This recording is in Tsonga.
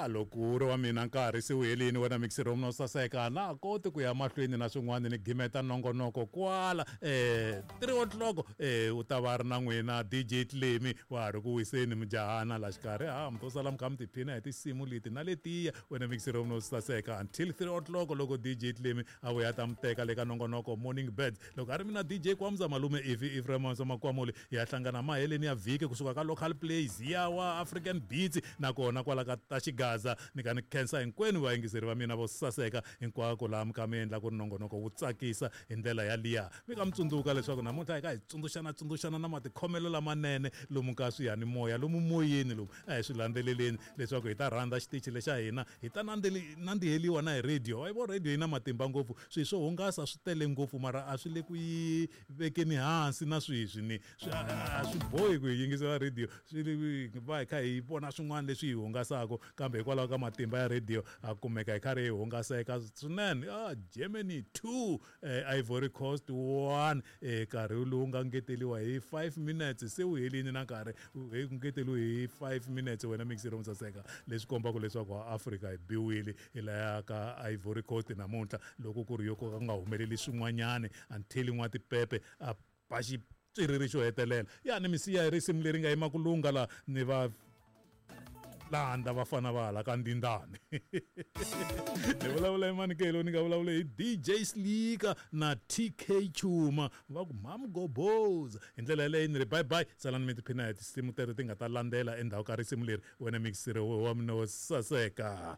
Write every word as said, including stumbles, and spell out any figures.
Ya loko wu ri wa mina nkarhi se wu helini wena mixero wa mina wo saseka na ha koti ku ya mahlweni na swin'wana ni gimeta nongonoko kwala um three o'clock um u ta va ri na n'wina D J Tlemi wa ha ri ku wiseni mujahana la xikarhi ha mi to sala mi kha mi tiphina hi tinsimu leti na letiya wena mixero wa mina wo saseka until three o'clock loko D J Tlemi a vuya ta mi teka le ka nongonoko Morning Birds. Loko a ri mina D J Kwamza malume Ivi Ephraim Makwamuli hi ya hlangana maheleni ya vhiki kusuka ka local plays ya wa African Beats nakona kwala ka ta Xigaza ni ka ni khensa hinkwenu vayingiseri va mina vo saseka hinkwako laha mi kha mi endla ku ri nongonoko wu tsakisa hi ndlela yaliya. Mi ka mi tsundzuka leswaku namuntlha hi ka hi tsundzuxana tsundzuxana na matikhomelo lamanene lomu ka swiyanimoya lomu moyeni lomu a hi swi landzeleleni leswaku hi ta rhandza xitichi lexa hina hi ta nandziheliwa na hi radio. Wa yi vo radio yi na matimba ngopfu swilo swo hungasa swi tele ngopfu mara a swi le ku yi vekeni hansi na sweswi ni swi a swi bohi ku hi yingisela radio swi va hi kha hi vona swin'wana leswi hi hungasaka kambe hikwalaho ka matimba ya radio a kumeka hi karhi hi hungaseka swinene. Ah, Germany two eh, Ivory Coast one eh, nkarhi lowu nga ngeteliwa hi five minutes se wu helini na nkarhi hi ngeteliwe hi five minutes wena mixero musaseka leswi kombaka leswaku Afrika hi biwile hi laya ka Ivory Coast namuntlha loko ku ri yo ka nga humeleli swin'wanyani until n'watipepe a ba xitswiriri xo hetelela. Ya ni misiya hi risimu leri nga yima ku lungha la ni va landza vafana va hala ka ndindani. Ni vulavula hi Manikelo ni nga vulavula hi D J Slika na T K Chuma va ku Mamgoboza. Hi ndlela yaleyo ni ri bye bye salani mi tiphina hi tinsimu teto ti nga ta landzela endzhaku ka risimu leri wena mixero wa mina wo saseka.